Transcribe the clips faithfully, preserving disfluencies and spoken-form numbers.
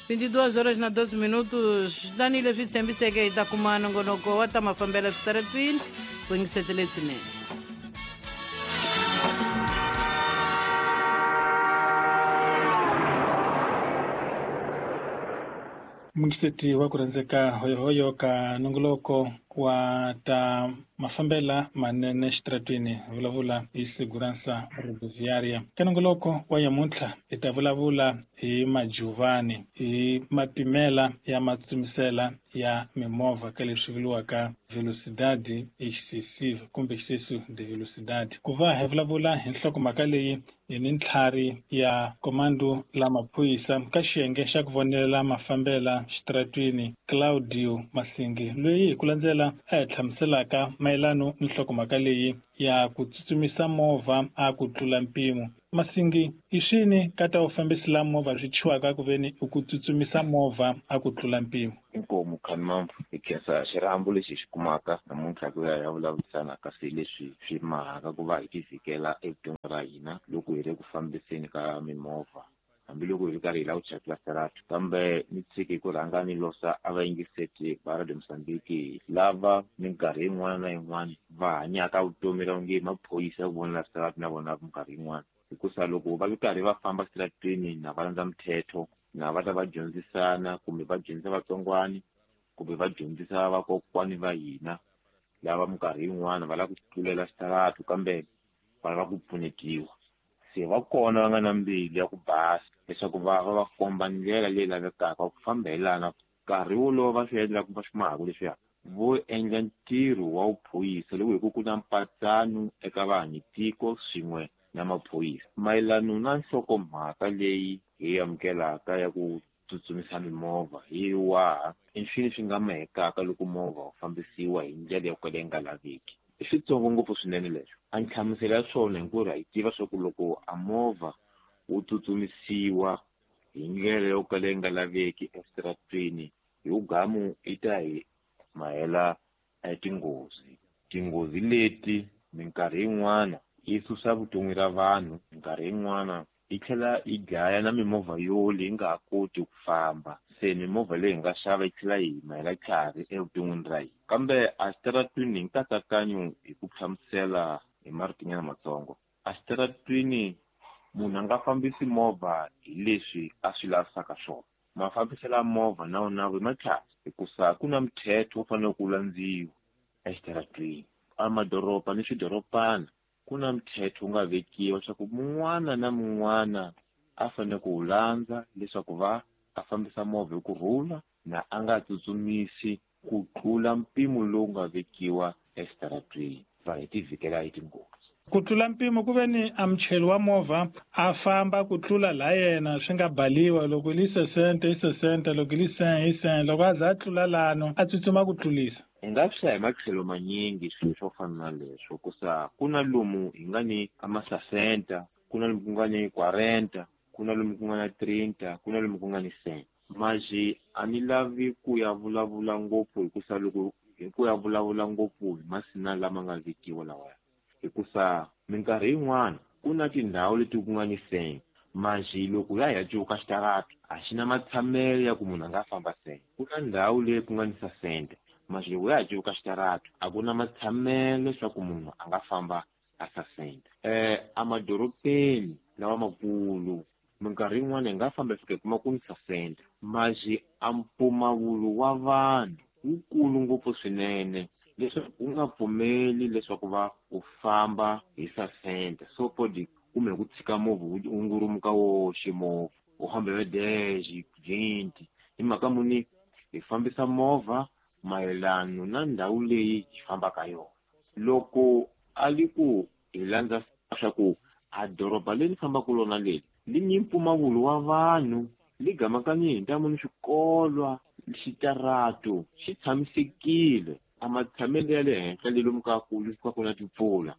vinte e duas horas na doze minutos. Tanihi leswi tshembiseke hi ta kuma nongonoko wa ta mafambelo switaratwini ku yingisetele swinene. Mungiseti wa ku rhandzeka hoyohoyo ka nongoloko wa ta mafambela manene xitaratwini vulavula hi segurança rodoviária. Ka nongoloko wa nyamuntlha hi ta vulavula hi majuvani, hi mapimela ya matsutsumisela ya mimovha ka leswi vuriwaka velocidade excessiva kumbe excesso de velocidade. Ku va hi vulavula hi nhlokomhaka leyi hi ni ntlhari ya komando la maphorisa ka xiyenge xa ku vonelela mafambela xitaratwini Claudio Masingi, loyi hi ku landzela a hi hlamuselaka mayelano ni nhlokomhaka leyi ya ku tsutsumisa movha a ku tlula mpimo. Masingi, i swini ka ta vufambisi la movha swi chiwaka ku veni i ku tsutsumisa movha a ku tlula mpimo? Inkomu Khanimamfu, hi khensa xirhambo lexi hi xi kumaka namuntlha ku ya ya vulavurisana kasi leswi swi mahaka ku va hi tivhikela evuton'wini ra hina loko hi ri ku fambiseni ka mimovha, hambiloko hi ri karhi hi lava ku chayela xitarato. Kambe ni tshiki ku rhanga ni losa a vayingiseti va Radio Mozambique lava minkarhi yin'wana na yin'wana va hanyaka vutomi ra onge maphorisa ku vonela xitarato na vona minkarhi yin'wana, hikusa loko va ri karhi va famba xitaratweni na va landza mithetho, na va ta va dyondzisana kumbe va dyondzisa vatsongwani kumbe va dyondzisa vakokwani va hina lava minkarhi yin'wana va lava ku tlulela xitarato kambe va lava ku pfunetiwa. Se va kona va nga na mbilu ya ku basa leswaku va va va komba ndlela leyi lavekaka ku famba hi lana. Nkarhi wolowo va swi endlaka va swi mahaka leswiya vo endla ntirho wa vuphorisa loko hi ku ku na mpatsano eka vanhu tiko swin'we na maphorisa. Mayelano na nhlokomhaka leyi hi amukelaka ya ku tsutsumisa mimovha hi waha i swilo swi nga mahekaka loko movha wu fambisiwa hi ndlela yo kala yi nga laveki. I switsongo ngopfu swinene leswo. A nhlamuselo ya swona hinkwerhu ha yi tiva swa ku loko a movha wu tsutsumisiwa hi ndlela yo kala yi nga laveki exitaratweni, hi wugamu yi ta hi mahela tinghozi. Tinghozi leti minkarhi yin'wana yi susa vutomi ra vanhu, minkarhi yin'wana yi tlhela yi dlaya na mimovha yo leyi nga ha koti ku famba. Se mimovha leyi hi nga xava yi tlhela yi mahela tlhari evuton'wini ra hina. Kambe a xitaratwini hi nkatsakanyo hi ku hlamusela hi maritinyana matsongo, a xitaratwini munhu a nga fambisi movha hi leswi a swi lavisaka swona. Mafambiselo ya movha na wona i matlhari hikusa ku na mthetho wu fanele ku landziwa exitaratwini. A madoroba ni swidorobana ku na mthetho wu nga vekiwa leswaku mun'wana na mun'wana a fanele ku wu landza leswaku va a fambisa movha hi kurhula na a nga tsutsumisi ku tlula mpimo lowu nga vekiwa exitaratwini, va hi tivhikela hi tinghozi. Ku tlula mpimo ku ve ni a muchayeri wa movha a famba ku tlula la yena swi nga baliwa, loko li sesenta i sesenta, loko li cent i cent, loko a za a tlula lano a tsutsuma ku tlulisa. Hi nga swi hlaya hi matlhelo manyingi swilo swo fana na leswo, kusa ku na lomu hi nga ni a masasenta, ku na lomu ku nga ni quarenta, ku na lomu ku nga na trinta, ku na lomu ku nga ni cent. Maji a ni lavi ku ya vulavula ngopfu hikusa loko hi ku ya vulavula ngopfu hi masina lama nga vekiwa lawaya, hikusa minkarhi yin'wana ku na tindhawu leti ku nga ni cent, maji loko ya hi ya cuvuka xitarato a xi na matshamelo ya ku munhu a nga famba cent. Ku na ndhawu leyi ku nga ni sasenta, maji loko ya ha cuvuka xitarato a ku na matshamelo leswaku munhu a nga famba a sasenta. Eh emadorobeni lawa makulu minkarhi yin'wana hi nga famba hi fika hi kuma ku ni sasenta, maji a mpfumawulo wa vanhu wukulu ngopfu swinene leswaku u nga pfumeli leswaku va u famba hi sasenta. So podi kumbe ku tshika movha wu ngurumuka woxe movha u hamba hi dez vinte, hi mhaka muni hi fambisa movha mayelano na ndhawu leyi hi fambaka yona. Loko a li ku hi landza swa ku a doroba leri fambaka lona leri li ni mpfumawulo wa vanhu li gamakanye hi ntamu ni swikolwa, xitarato xi tshamisekile, a matshamelo ya le henhla le lomu ka ku ka ku na timpfula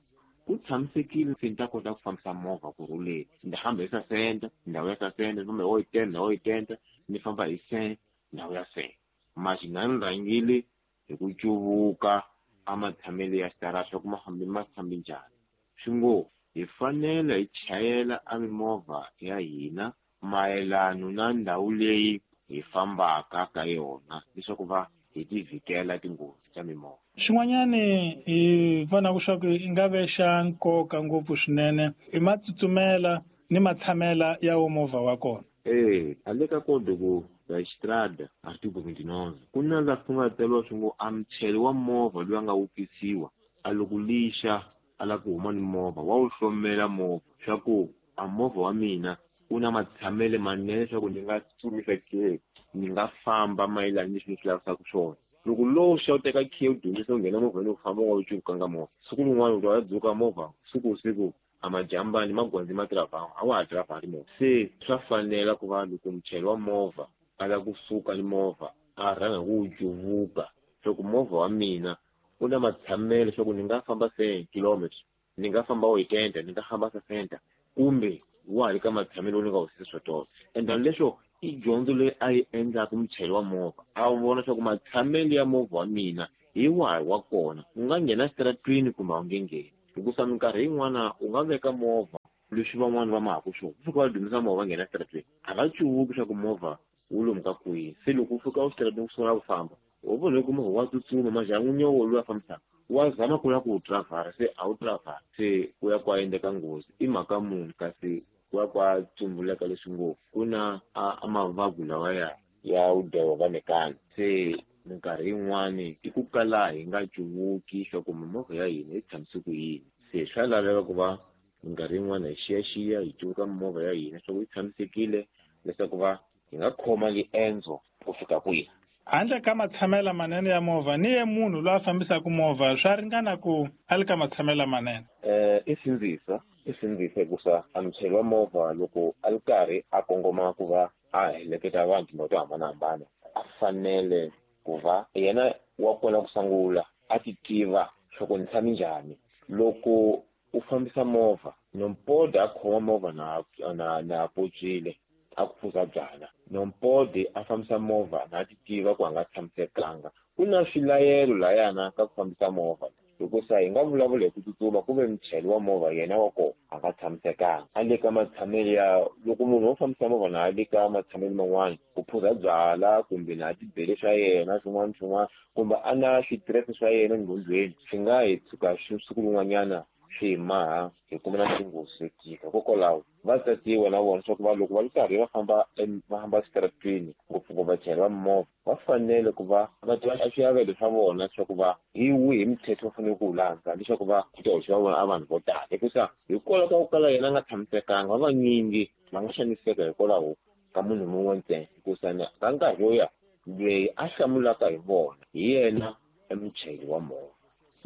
ku tshamisekile, se ni ta kota ku fambisa movha kurhuleni. Ni hamba hi sasenta, ndhawu ya sasenta, ni famba hi oitenta, ndhawu ya oitenta, ni famba hi cent, ndhawu ya cent. Maji na ni rhangile hi ku cuvuka a matshamelo ya xitarato ku ma fambi ma fambi njhani. Swi ngo hi fanele hi chayela a mimovha ya hina mayelano na ndhawu leyi hi fambaka ka yona leswaku va hi tivhikela tinghozi ta mimovha. Xin'wanyani hi vonaka swa ku i nga ve xa nkoka ngopfu swinene i matsutsumela ni matshamela ya wo movha wa kona. Eh, ale ka Código da Estrada, artigo vinte e nove, ku na laha ku nga tsariwa swi ngo a muchayeri wa movha loyi a nga wupfisiwa a loko lixa a lava ku huma ni movha wa wu hlomela movha swa ku a movha wa mina wu na matshamelo manene leswaku ni nga tsutsumisa ke ni nga famba mayelana ni leswi ni swi lavisaka swona. Loko lowu xa u teka khiya u dyondzisa u nghena movheni u famba u nga wu cukanga movha, siku rin'wana u ta ya dzuka movha siku siku a majambani magwandzi ma tiravha a wa ha tiravhari movha. Se swa fanela ku va loko muchayeri wa movha a lava kusuka ni movha a rhanga hi ku wu cuvuka leswaku movha wa mina wu na matshamelo leswaku ni nga famba cent kilometers, ni nga famba oitenta, ni nga famba sessenta, kumbe wa ha ri ka matshamelo ni nga wu sisa swotolo. And then leswo i dyondzo leyi a yi endlaka muchayeri wa movha a vona leswaku matshamelo ya movha wa mina hi wahi wa kona, u nga nghena exitaratwini kumbe a wu nge ngheni. Hikusa minkarhi yin'wana u nga veka movha leswi van'wani va mahaka swona, ku fika va dumisa movha va nghena exitaratwini a va cuvuki leswaku movha wu lomu ka kwihi. Se loko u fika exitaratwini u sungula ku famba u vona ku movha wa tsutsuma majaha n'winyi loyi a fambisaka wa zama ku lava ku wu tiravhara, se a wu tiravhara, se ku ya ku a endleka nghozi. I mhaka muni kasi ku ya ku a tsumbuleka leswi ngopfu ku na a, a mavabyi lawa ya ya wu dyoho va mekana. Se minkarhi yin'wani i ku kala hi nga cuvuki swa ku mimovha ya hina yi tshamise ku yini. Se swa laveka ku va minkarhi yin'wana hi xiyaxiya hi cuvuka mimovha ya hina swa ku yi tshamisekile leswaku va hi nga khoma riendzo ku fika kwihi. Handle ka matshamela manene ya movha ni ye munhu loyi a fambisaka movha swa ringana ku a li ka matshamela manene? Eh, i sindzisa, i sindzisa hikusa a muchayeri wa movha loko a ri karhi a kongoma ku va a heleketa vanhu tindhawu to hambanahambana a fanele ku va yena wa kona ku sungula a ti tiva swa ku ni tshame njhani. Loko u fambisa movha nompode a khoma movha na, na, na potswile a ku phuza byala, nompode a fambisa movha na ti tiva ku a nga tshamisekanga. Ku na swilayelo layana ka ku fambisa movha, hikusa hi nga vulavula hi ku tsutsuma ku ve muchayeri wa movha yena wa kona a nga tshamisekanga. A le ka matshamelo ya loko munhu wo fambisa movha na a le ka matshamelo man'wana ku phuza byala kumbe na tibele swa yena swin'wana swin'wana kumbe a na switirese swa yena enghondweni, swi nga hi tshuka siku rin'wanyana swi hi maha hi kuma na tinghozi to tika. Hikokwalaho va tatiwa na vona leswaku va loko va ri karhi va famba va famba exitaratwini ngopfungopfu vachayeri va mimovha va fanele ku va va tiva swiavelo swa vona leswaku va hi wihi mithetho va fanele ku wu landza leswaku va ku ta hoxiwa vona a vanhu vo tala. Hikusa hikwalaho ka ku kala yena a nga tshamisekanga, va vanyingi va nga xaniseka hikwalaho ka munhu mun'we ntsena. Hikusa ka nkarhi wo ya loyi a hlamulaka hi vona hi yena emuchayeri wa movha.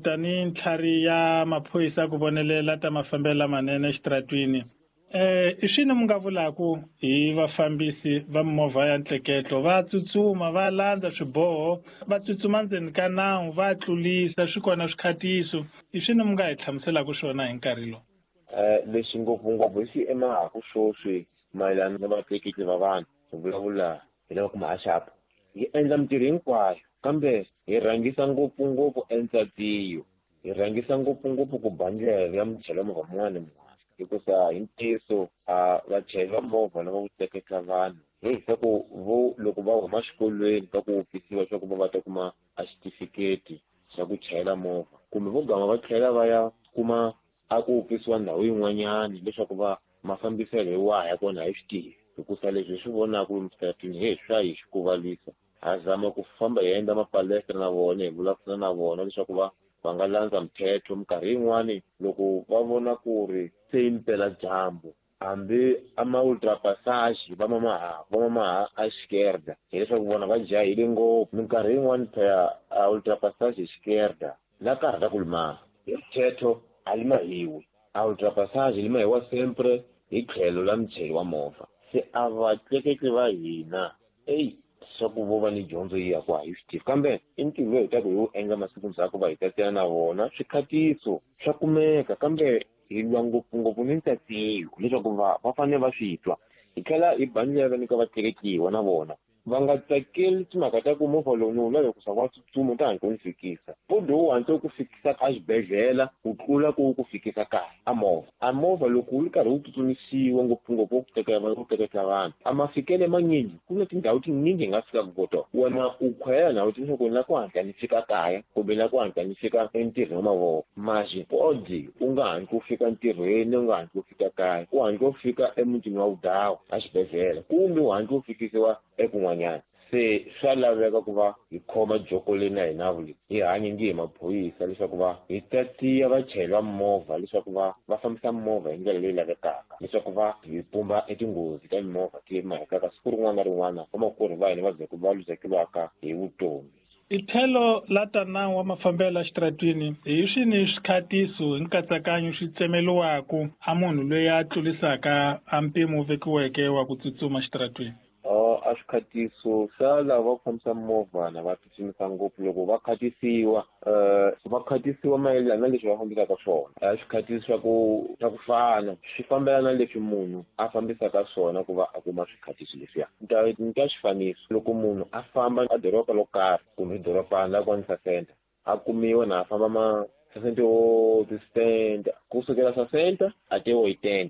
Tanihi ntlhari ya maphorisa ku vonelela ta mafambelo lamanene exitaratwini, eh, i swini mi nga vulaku hi vafambisi va mimovha ya ntleketlo? Va tsutsuma va landza swiboho, va tsutsuma ndzeni ka nawu, va tlulisa, swi kona swikhatiso. I swini mi nga hi hlamuselaka swona hi nkarhi lowu? Eh, lexi ngopfungopfu hi xi emahaku sweswi mayelana na vatleketli va vanhu, hi vulavula hi lava kuma haxapu. Hi endla mintirho hinkwayo kambe hi rhangisa ngopfungopfu entsatiyo, hi rhangisa ngopfungopfu ku ba ndlela ya muchayeri wa movha mun'wana ni mun'wana. Hikusa hi ntiyiso a vachayeri va movha lava ku tleketla vanhu hi swa ku vo loko va huma xikolweni ka ku wupfisiwa swa ku va va ta kuma a xitifiketi xa ku chayela movha kumbe vo gama va tlhela va ya kuma a ku wupfisiwa ndhawu yin'wanyani leswaku va mafambiselo hi wahi ya kona hi swi tivi. Hikusa leswi hi swi vonaka lomu xitaratwini hi swa hi xi kuvalisa. Ha zama ku famba hi endla mapalestra na vona, hi vulavula na vona leswaku va va nga landza mithetho. Minkarhi yin'wani loko va vona ku ri se yi mpela dyambu hambi a ma ultrapassage va mamaha va mamaha a esquerda, hileswaku vona va jahile ngopfu. Minkarhi yin'wani phela a ultrapassage esquerda na karhi ra ku limaha hi mithetho a limahiwi, a ultrapassage limahiwa sempre hi tlhelo la muchayeri wa movha. Se a vatleketli va hina eyi swa ku vo va ni dyondzo yi ya ku a hi swi tivi, kambe i ntirho lowu hi taka hi wu endla masiku ndzhaku va hi tatela na vona swikhatiso swa kumeka, kambe hi lwa ngopfungopfu ni ntsatiyo leswaku va va fanele va swi twa. Hi tlhela hi ba ndlela ni ka vatleketliwa na vona Va nga tsakeli timhaka ta ku movha lowu ni wu lava ku swa wa tsutsuma ta hatla wu ni fikisa. Podi wu hatla wu ku fikisa a xibedhlele ku tlula ku wu ku fikisa kaya a movha. A movha loko wu ri karhi wu tsutsumisiwa ngopfungopfu ku teka ku tleketla vanhu a mafikelo manyingi ku na tindhawu tinyingi hi nga fikaka ko tona. Wena u khwela ndhawu leswaku ni la ku hatla ni fika kaya kumbe ni la ku hatla ni fika entirhweni wa mavoko. Masi podi u nga hatli u fika ntirhweni u nga hatli u fika kaya u hatli u fika emutini wa vudawa a xibedhlele kumbe u hatli u fikisiwa ekun'wanyana. Se swa laveka ku va hi khoma joko leyi na hina leyi hi hanye nge hi maphorisa leswaku va hi tatiya vachayeri va mimovha leswaku va va fambisa mimovha hi ndlela leyi lavekaka leswaku va hi pumba etinghozi ta mimovha ti mahekaka siku rin'wana na rin'wana vamakwerhu va hina va va luzekeriwaka hi vutomi. I tlhelo la ta nawu wa mafambelo ya xitaratwini hi swini swikhatiso hi nkatsakanyo swi tsemeliwaku a munhu loyi a tlurisaka a mpimo wu vekiweke wa ku tsutsuma xitaratwini? A swikhatiso swa lava va ku fambisa mimovha na va tsutsumisa ngopfu loko va khatisiwa um va khatisiwa mayelana na leswi va fambisaka swona. A swikhatiso swa ku swa ku fana swi fambelana na leswi munhu a fambisaka swona ku va a kuma swikhatiso leswiya. Ni ta ni ta xifaniso loko munhu a famba a doroba lo karhi kumbe dorobana la kwani Sasenta a kumiwa na a famba ma sesenta o tisenta kusukela sessenta até oitenta.